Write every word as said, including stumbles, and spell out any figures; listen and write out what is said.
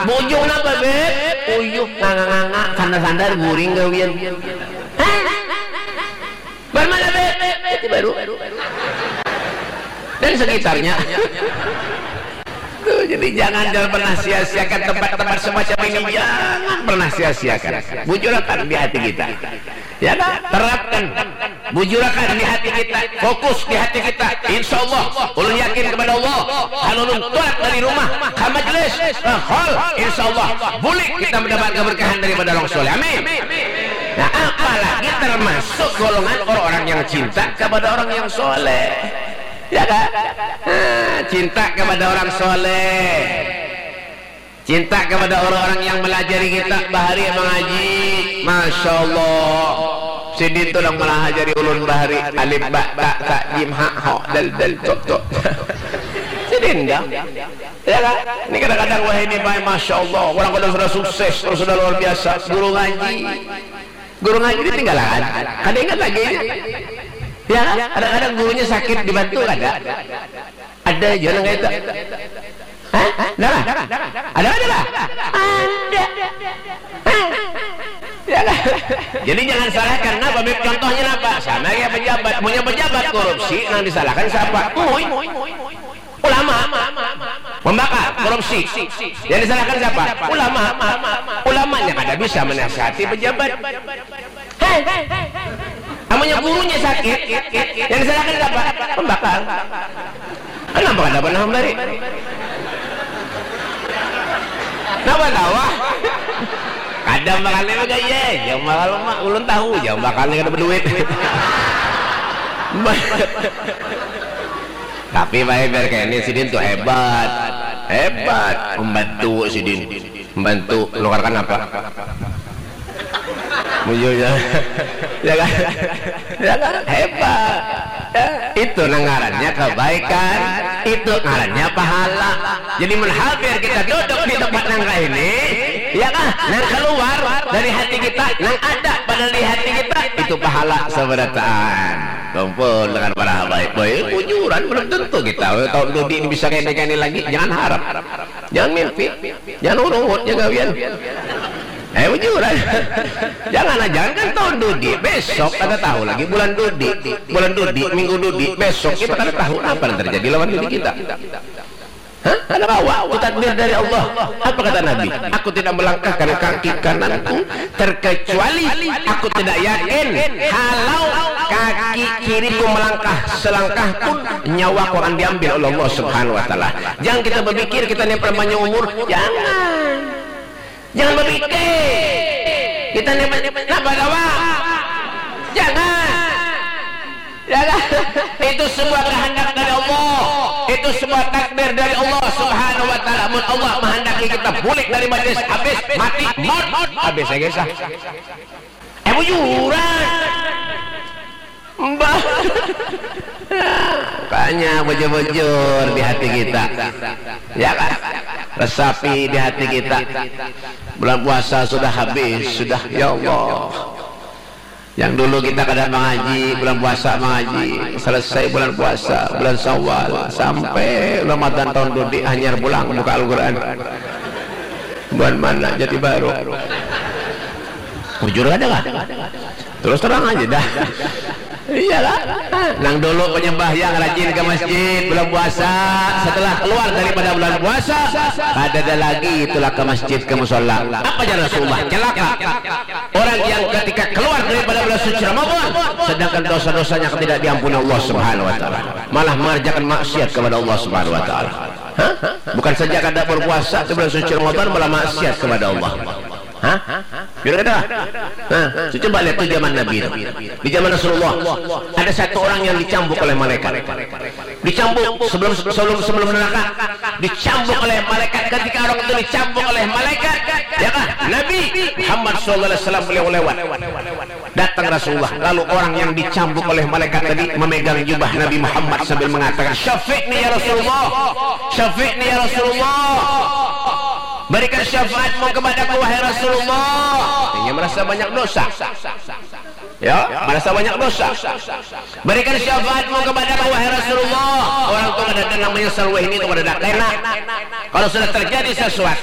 Bujung napa, Beb? Uyuh nganga-nganga, sandar-sandar, guring gawian. Hah? Bar mana, Beb? Jati Baru. Dan sekitarnya. Tuh, jadi jangan, jangan pernah sia-siakan tempat-tempat semacam ini. Jangan pernah sia-siakan. Bujurakan di hati kita. Ya kan? Terapkan. Bujurakan di hati kita. Fokus di hati kita. Insya Allah, ulun yakin kepada Allah. Kalau ulun tulak dari rumah, ke majelis, ke hall, insya Allah, boleh kita mendapat keberkahan daripada orang soleh. Amin. Nah, apalagi termasuk golongan orang-orang yang cinta kepada orang yang soleh. Ya kan? Nah, cinta kepada orang soleh. Cinta kepada orang-orang yang melajari kita bahari mengaji. Masya Allah. Sidin tu nang melajari ulun bahari. Alif, ba, ta, sa, jim, ha, ho, dal, dal, to, to. Sidin dah. Ya kan? Ini kadang-kadang wah ini baik, Masya Allah. Orang kadang sudah sukses, orang sudah luar biasa. Guru ngaji. Guru ngaji ditinggalan. Kada ingat lagi. Ya kan? Kadang-kadang gurunya sakit dibantu kada. Ada aja nang kaya itu. Hah? Ada lah? Ada, ada lah? Ada. Hah? Ya lah. Jadi jangan salahkan. Napa, Beb? Contohnya napa? Sama kayak pejabat. Punya pejabat korupsi, nang disalahkan siapa? Mui. Ulama. Membakar, korupsi. Yang disalahkan siapa? Ulama. Ulamanya kada bisa menasihati pejabat. Hei, amunnya gurunya sakit, yang disalahkan siapa? Pembakar. Kenapa kada pernah memberi? Kenapa tawa? Kada bakal ni mah, iya, jam bakal mah ulun tahu, jam bakal ni kada berduit. Tapi baik biar kayak ini, sidin tuh hebat. Hebat membantu sidin. Membantu nukarkan apa? Bujurnya. Ya kan? Ya kan? Hebat. Ya, itu nang ngarannya kebaikan, itu ngarannya pahala. Jadi menhampir kita duduk di tempat nang kayak ini, ya kan? Nang keluar dari hati kita, nang ada pada di hati kita, itu pahala seberataan. Kumpul dengan para habaib. Boy, bujuran belum tentu kita. Tahun dudi ini bisa kayak ini lagi. Jangan harap. Jangan mimpi. Jangan urungut, jangan gawian. Eh, bujuran. Jangan, jangan kan tahun dudi. Besok kada tahu lagi bulan dudi. Bulan dudi, minggu dudi, besok kita kada tahu apa yang terjadi lawan dudi kita. Hah? Kada kawa. Itu takdir dari Allah. Apa kata Nabi? Aku tidak melangkahkan kaki kananku terkecuali aku tidak yakin kalau kaki kiriku melangkah selangkah pun nyawaku akan diambil oleh Allah Subhanahu wa taala. Jangan kita berpikir kita ni panjang umur, jangan. Jangan berpikir. Kita ni napa kawa? Jangan. Ya kan? Itu sebuah kehendak dari Allah. Itu sebuah takdir dari Allah Subhanahu wa taala. Mun Allah menghendaki kita bulik dari majlis, habis, mati, maut, habis ya guys. Eh, bujuran. Mbah. Makanya bujur-bujur di hati kita. Ya kan? Resapi di hati kita. Bulan puasa sudah habis, sudah, ya Allah. Yang dulu kita kada mengaji, bulan puasa mengaji. Selesai bulan puasa, bulan Syawal, sampai Ramadan tahun dudi hanyar pulang buka Al-Quran. Bulan mana? Jati Baru. Bujur ada kah? Terus terang aja dah. Iyalah. Nang dulu penyembah yang rajin ke masjid bulan puasa, setelah keluar daripada bulan puasa, kada ada lagi itulah ke masjid, ke musola. Apa jalan Rasulullah? Celaka. Orang yang ketika keluar daripada bulan suci Ramadan, sedangkan dosa-dosanya tidak diampuni Allah Subhanahu wa taala, malah mengerjakan maksiat kepada Allah Subhanahu wa taala. Hah? Bukan saja kada berpuasa di bulan suci Ramadan, malah maksiat kepada Allah. Hah? Kira kada? Nah, coba lihat tuh zaman Nabi itu. Di zaman Rasulullah, ada satu orang yang dicambuk oleh malaikat. Dicambuk sebelum sebelum sebelum neraka. Dicambuk oleh malaikat. Ketika orang itu dicambuk oleh malaikat, ya kan? Nabi Muhammad sallallahu alaihi wasallam beliau lewat. Datang Rasulullah, lalu orang yang dicambuk oleh malaikat tadi memegang jubah Nabi Muhammad sambil mengatakan, "Syafi'ni ya Rasulullah, syafi'ni ya Rasulullah, berikan syafaatmu kepadaku wahai Rasulullah." Dia merasa banyak dosa. Ya, merasa banyak dosa. "Berikan syafaatmu kepadaku wahai Rasulullah." Orang tu kada ada namanya salweh ini tu kada ada kena. Kalau sudah terjadi sesuatu,